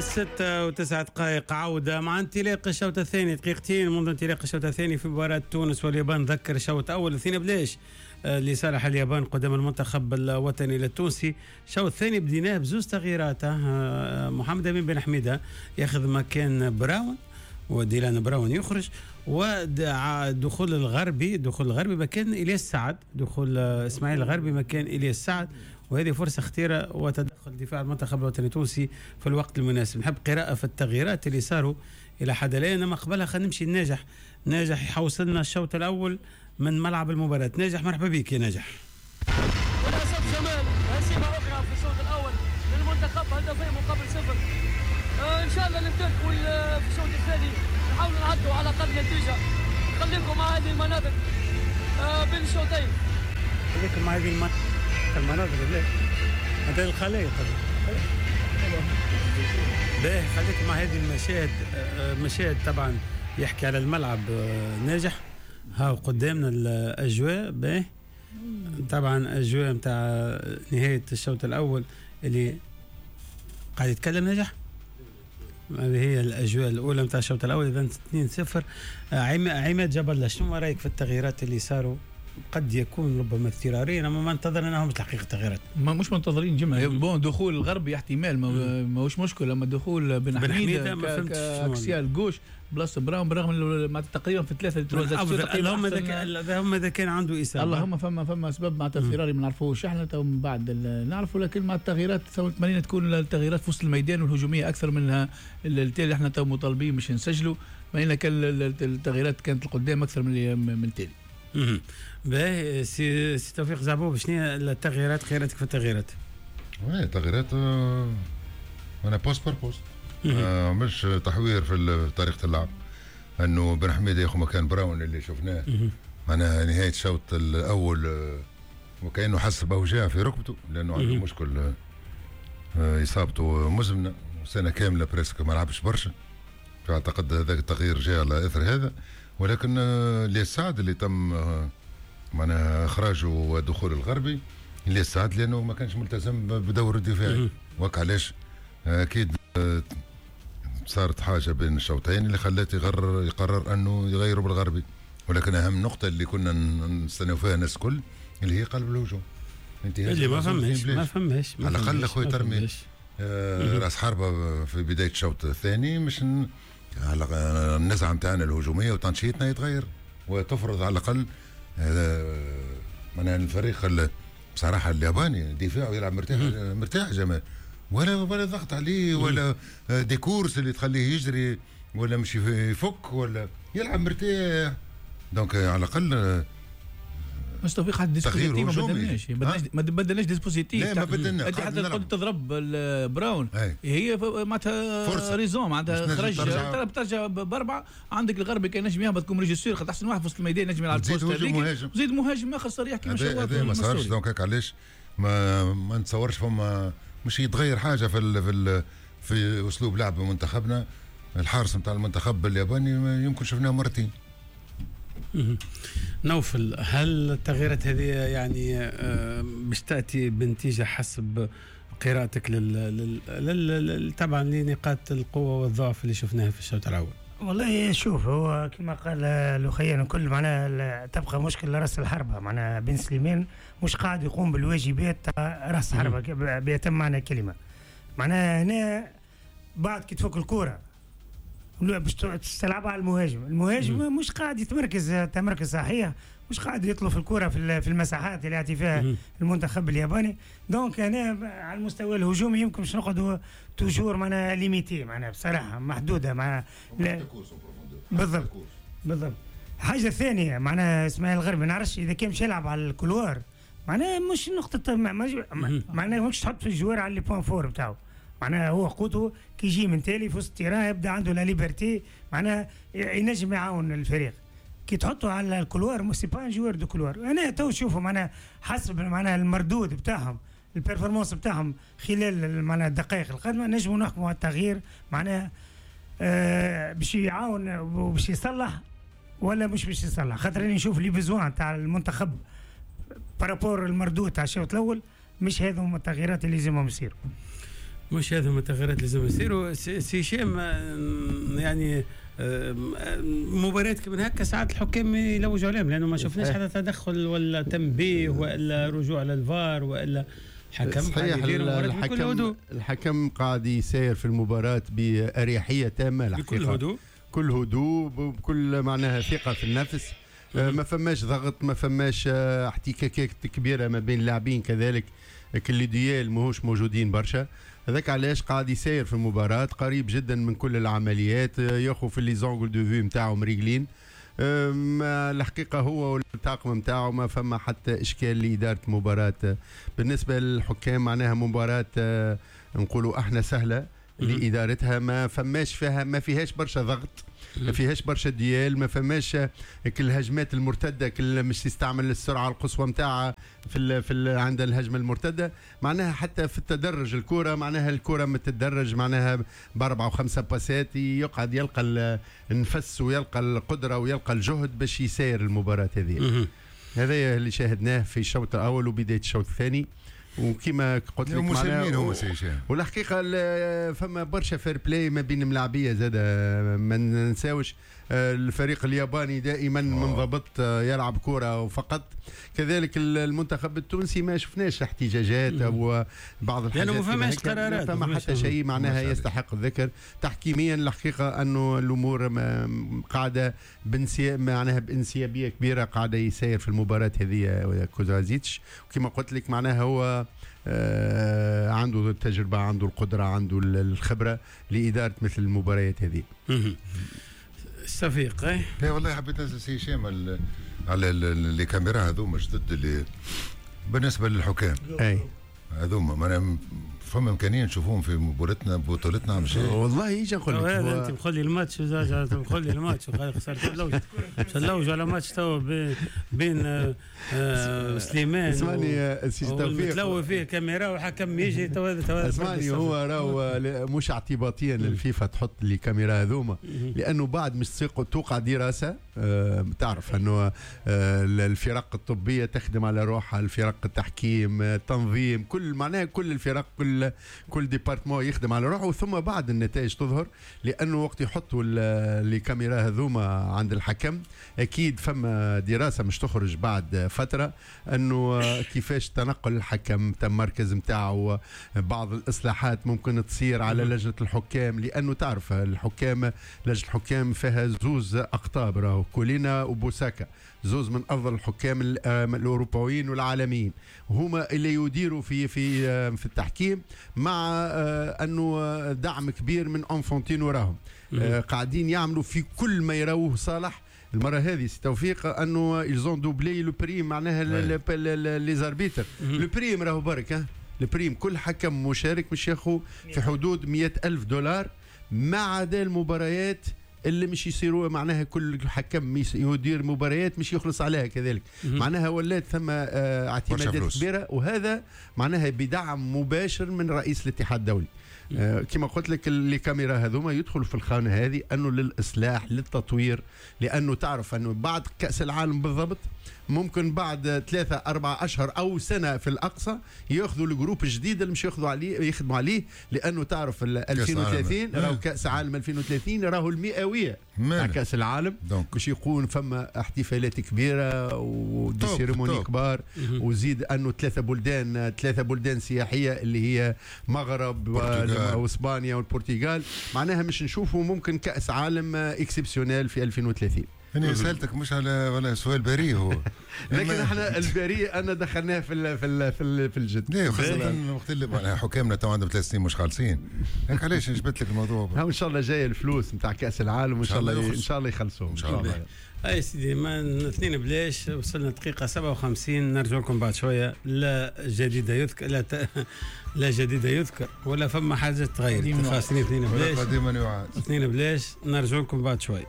6:09 عودة مع انطلاق الشوط الثاني، دقيقتين منذ انطلاق الشوط الثاني في مباراة تونس واليابان. ذكر الشوط الأول 2-0 لصالح اليابان قدام المنتخب الوطني التونسي. الشوط الثاني بديناه بزوز تغييرات، محمد أمين بن حميدة ياخذ مكان براون وديلان براون يخرج، ودخول الغربي، دخول الغربي مكان إلياس سعد، دخول إسماعيل الغربي مكان إلياس سعد، وهذه فرصة خطيرة وتدخل دفاع المنتخب الوطني التونسي في الوقت المناسب. نحب قراءة في التغييرات اللي صاروا إلى حد الآن، أما قبلها خلينا نمشي لناجح. ناجح يحوصلنا الشوط الأول من ملعب المباراة. ناجح مرحبا بك يا ناجح. وللأسف جمال هزيمة أخرى في الشوط الأول للمنتخب، 2-0. إن شاء الله نمتلك في الشوط الثاني نحاولوا نعدوا على الأقل نتيجة. خليكم مع هذه المناطق بين الشوطين. خليكم مع هذه المناظر هذا الخلايق باهي. خليكم مع هذه المشاهد، مشاهد طبعا يحكي على الملعب ناجح. ها قدامنا الاجواء باهي، طبعا اجواء نتاع نهاية الشوط الاول اللي قاعد يتكلم ناجح. هذه هي الاجواء الاولى نتاع الشوط الاول. اذا 2-0. عماد جبل، شنو رايك في التغييرات اللي صاروا؟ قد يكون ربما اضطراريا، اما ما انتظرناهمش الحقيقة التغييرات. ما مش منتظرين جمعه. bon دخول الغربي احتمال ماهوش مشكل، اما دخول بن حميده ما فهمتش axial gauche بلاصة براون، برغم تقريبا في ثلاثة اللهم اذا كان عنده اصابه، اللهم فما سبب مع اضطراري ما نعرفوش احنا تو من بعد نعرفوا، لكن مع التغييرات تمنينا تكون التغييرات في وسط الميدان والهجوميه اكثر منها التالي. احنا تو مطالبين باش نسجلوا، ما كان التغييرات كانت القدام اكثر من التالي. باهي سي توفيق زعبوب، شنو هي التغييرات؟ خياراتك في التغييرات؟ oui التغييرات انا poste par poste، مش تحوير في طريقه اللعب، انه بن حميده ياخذ مكان براون اللي شفناه معناها نهاية الشوط الاول وكانه حس باوجاع في ركبته لانه عنده مشكل اصابته مزمنة سنة كاملة presque ما لعبش برشا، فاعتقد هذاك التغيير جاء على اثر هذا. ولكن الياس سعد اللي تم معناها اخراجه ودخول الغربي، الياس سعد لانه ما كانش ملتزم بدوره الدفاعي، وك علاش اكيد صارت حاجة بين الشوطين اللي خلات يقرر انه يغيروا بالغربي. ولكن اهم نقطة اللي كنا نستناو فيها الناس الكل اللي هي قلب الهجوم، اللي ما فماش على الاقل اخويا ترمي راس حربه في بداية الشوط الثاني، مش على النزعة نتاعنا الهجومية وتنشيطنا يتغير وتفرض على الاقل معناها الفريق بصراحة الياباني دفاعه يلعب مرتاح مرتاح جمال، ولا ضغط عليه ولا des courses اللي تخليه يجري ولا مش يفك ولا يلعب مرتاح. donc على الاقل مش توفيق حتى dispositif ما بدلناش، ما بدلناش dispositif. لا ما بدلناش، انت حتى قلت تضرب براون هي معناتها raison، معناتها خرج ترجع باربعة. عندك الغربي كان نجم يهبط comme régisseur، خاطر احسن واحد في وسط الميدان نجم يلعب poste هذيك، زيد مهاجم اخر صريح كيما شواط. هذا ما صارش. donc علاش ما نتصورش فما مش يتغير حاجة في في اسلوب لعب منتخبنا. الحارس نتاع المنتخب الياباني يمكن شفناه مرتين. نوفل، هل التغييرات هذه يعني باش تأتي بنتيجة حسب قراءتك طبعا لنقاط القوة والضعف اللي شفناها في الشوط الأول؟ والله شوف، هو كما قال الأخيان الكل معناها تبقى مشكلة راس الحربة، معناها بن سليمان مش قاعد يقوم بالواجبات تاع راس الحربة بأتم معنى كلمة. معناها هنا بعد كي تفك الكرة باش تلعبها على المهاجم، المهاجم مش قاعد يتمركز تمركز صحيح، مش قاعد يطلب في الكرة في المساحات اللي يعطي فيها المنتخب الياباني. donc انا على المستوى الهجومي يمكن باش نقعدوا toujours معناها limités، معناها بصراحة محدودة مع بالضبط بالضبط. حاجة ثانية معناها اسماعيل الغربي ما نعرفش اذا كان مش يلعب على ال couloir، معناها مش نقطة، معناها مش تحط في ال joueur على les points forts بتاعه، معناها هو قوته كي يجي من تالي في وسط ال terrain يبدا عنده la liberté، معناها ينجم يعاون الفريق. كي تحطه على ال couloir c'est pas un joueur de couloir. انا تو نشوفه معناها حسب معناها المردود بتاعهم ال performance بتاعهم خلال معناها الدقائق القادمة نجموا نحكموا على التغيير، معناها باش يعاون وباش يصلح ولا مش باش يصلح. خاطر انا نشوف les besoins تاع المنتخب par rapport المردود تاع الشوط الاول مش هذو هما التغييرات اللي لازمهم يصيروا. مش هذا التغييرات لازم يصيروا. سي هشام، يعني مباريات كمان هكا ساعات الحكام يلوجوا عليهم، لانه ما شفناش حتى تدخل ولا تنبيه ولا رجوع للفار ولا حكم. صحيح، الحكم قاعد يسير في المباراة بأريحية تامة الحقيقة، بكل هدوء، كل هدوء، بكل معناها ثقة في النفس. ما فماش ضغط، ما فماش احتكاكات كبيرة ما بين اللاعبين، كذلك كل duels ماهوش موجودين برشا. هذاك علاش قاعد يسير في المباراة قريب جدا من كل العمليات، ياخذ في les angles de vue نتاعو مريقلين. الحقيقة هو والطاقم نتاعو ما فما حتى إشكال لإدارة المباراة. بالنسبة للحكام معناها مباراة نقولوا احنا سهلة لإدارتها، ما فماش فيها، ما فيهاش برشا ضغط، ما فيهاش برشا duels، ما فماش كل الهجمات المرتدة، كل مش يستعمل السرعة القصوى نتاعها في عند الهجمة المرتدة. معناها حتى في التدرج الكره، معناها الكره متدرج معناها باربعة وخمسة باسات، يقعد يلقى النفس ويلقى القدرة ويلقى الجهد باش يسير المباراة هذه. هذا اللي شاهدناه في الشوط الاول وبداية الشوط الثاني. وكما قلت لك معناها هو سي هشام، والحقيقة فما برشا fair-play ما بين الملاعبيه زاد، ما ننساوش الفريق الياباني دائما منضبط يلعب كره وفقط. كذلك المنتخب التونسي ما شفناش احتجاجات او بعض الحاجات، لانه ما فماش قرارات، ما فما حتى شيء معناها يستحق الذكر. تحكيميا الحقيقة انه الامور قاعدة معناها بانسيابيه كبيرة قاعدة يسير في المباراة هذه كوزازيتش. وكما قلت لك معناها هو عنده التجربة، عنده القدرة، عنده الخبرة لادارة مثل المباريات هذه. الصفيق لا والله حبيت نسال سي هشام على les caméras هذوما جدد اللي بالنسبة للحكام. اي هذوما معناها فما امكانية نشوفوهم في مباراتنا بطولتنا عم شيء. والله يجي نقول لك انت مخلي الماتش، مخلي الماتش خسرت اللوج اللوج على ماتش تو بين سليمان. اسمعني سي توفيق، تلوي فيه كاميرا وحكم يجي تو. اسمعني، هو راهو مش اعتباطيا للفيفا تحط les caméras هذوما، لانه بعد مش توقع دراسة. تعرف انه الفرق الطبية تخدم على روحها، الفرق التحكيم، التنظيم، كل معناها كل الفرق، كل département يخدم على روحه، ثم بعد النتائج تظهر. لانه وقت يحطوا les caméras هذوما عند الحكم اكيد فما دراسة مش تخرج بعد فترة انه كيفاش تنقل الحكم، تم مركز نتاعو، بعض الاصلاحات ممكن تصير على لجنة الحكام، لانه تعرف الحكام، لجنة الحكام فيها زوز اقطاب، راهو كولينا وبوساكا، زوز من افضل الحكام الاوروبيين والعالميين، هما اللي يديروا في في في التحكيم، مع انه دعم كبير من انفونتينو راهم قاعدين يعملوا في كل ما يروه صالح. المرة هذه سي توفيق انه ils ont doublé le prime، معناها les arbitres le prime راهو برك ال prime، كل حكم مشارك مش ياخذ في حدود $100,000، ما عدا المباريات اللي مش يصيروا، معناها كل حكم يدير مباريات مش يخلص عليها كذلك. معناها ولات ثم اعتمادات كبيرة، وهذا معناها بدعم مباشر من رئيس الاتحاد الدولي. كما قلت لك les caméras هذوما يدخلوا في الخانة هذه انه للاصلاح، للتطوير، لانه تعرف انه بعد كاس العالم بالضبط ممكن بعد 3-4 اشهر او سنة في الاقصى ياخذوا ال groupe الجديد اللي مش ياخذوا عليه، يخدموا عليه، لانه تعرف 2030 راهو كاس عالم 2030 راهو المئويه تاع كاس العالم، باش يكون فما احتفالات كبيرة و des cérémonies كبار، وزيد انه 3 بلدان سياحية اللي هي مغرب واسبانيا والبرتغال، معناها مش نشوفوا ممكن كاس عالم exceptionnel في 2030. أنا سألتك مش على ولا سؤال بريء هو لكن احنا البريء أنا دخلناه في ال في ال في, ال في الجد. لا، خاصة وقت اللي حكامنا تو عندهم 3 سنين مش خالصين، هيك علاش جبت لك الموضوع. ان شاء الله جاية الفلوس نتاع كأس العالم، وان شاء الله ان شاء الله يخلصوهم ان شاء الله. اي سيدي، ما 2 بلاش، وصلنا دقيقة 57، نرجع لكم بعد شوية. لا جديد يذكر، لا جديد يذكر ولا فما حاجة تغير، خاصني 2 بلاش، قديما يعاد 2 بلاش، نرجع لكم بعد شوية.